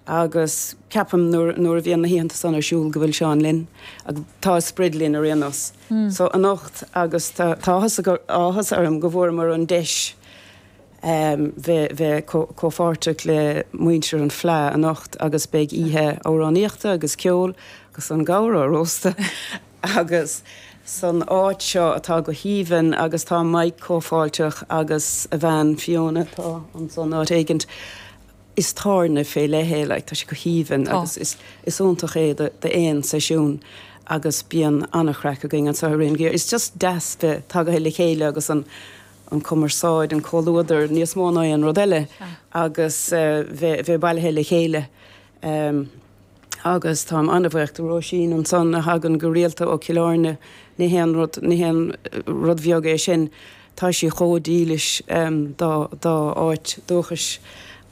Agus ceapaim nuair nuair a bhíonn na hoícheanta san ar siúl go bhfuil Seán linn, agus tá a sprid linn ar aon nós. So anocht agus tá tá áthas áthas orm go bhfuaireamar an deis bheith bheith comhpháirteach le muintir an Fleadh anocht agus beidh oíche amhránaíochta agus ceoil agus an gabhar á róstadh agus san áit seo atá go haoibhinn agus tá Mike chomh fáilteach agus a bhean Fiona atá ansan áit éigint. Is tábhairne fé leith é, like, tá sé go haoibhinn agus is is iontach é do d'aon seisiún agus bíonn an-chraic againn anseo i rith an gheimhridh. Is just deas bheith tagaithe le chéile agus an an cumarsáid, an comhluadar níos mó ná aon rud eile agus bheith bheith bailithe le chéile. Agus táim an-bhuíoch do Róisín ansan a thagann go rialta ó Cill Airne, ní haon rud, ní haon rud bheag é sin. Tá sí chomh dílis dá, dá áit dúchais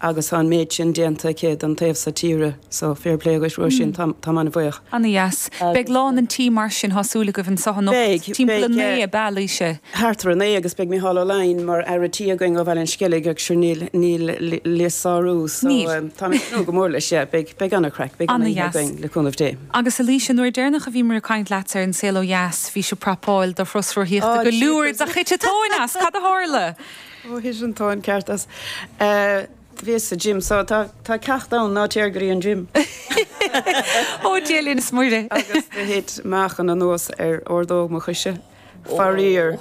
agus tá an méid sin déanta aici don taobh so tíre so fair play dhuit Róisín, táim, táim an-bhuíoch. Ana-dheas. Beidh lán an tí mar sin, tá súil agaibh anseo anocht. Beidh, Timpeall a beidh. naoi ab ea, Laoise? Thart ar a naoi agus beidh Micheál Ó Laighin mar fhear a' tí againn ó Bhaile an Sceilg agus sure níl, níl le sárú so Níl. táim ag tnúth go mór leis, yeah, beidh, beidh an-chraic, beidh an-oíche Ana-dheas. againn le cúnamh Dé. Agus a Laoise, nuair deireanach a bhíomar ag caint leatsa ar An Saol Ó Dheas bhís ag prapáil do thuras rothaíochta Oh go Lourdes jeepers. ach thit an tóin as, cad a tharla? Ó thit an tóin ceart as. Bhíos sa gym so tá tá ceacht ann ná téir go dtí an gym. Ó Dia linn is Muire. Agus do thit meáchan anuas ar ordóg mo choise. Faraor.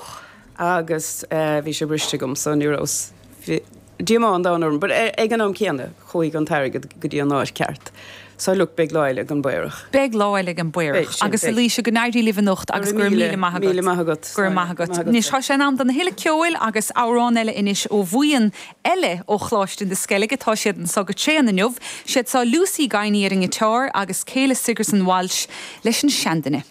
Agus bhí sé briste agam so ní raibh bhí díomá an domhain orm but ag an am céanna chuaigh an t-airgead go dtí an áit ceart. So look beidh lá eile ag an bPaorach. Beidh lá eile ag an bPaorach. Beidh sin, Agus a beidh. Laoise go n-éirí libh anocht Go agus raibh go raibh míle, míle maith agat. míle maith agat. Go raibh maith agat. Maith agat. Anois tá sé in am don thuilleadh ceoil agus amhrán eile anois ó bhuíon eile ó Choláiste na Sceilge. Tá siad anso go tréan inniu. Siad seo Lucy Guiney ar an ngiotár agus Kayla Sigerson Walsh leis an seanduine.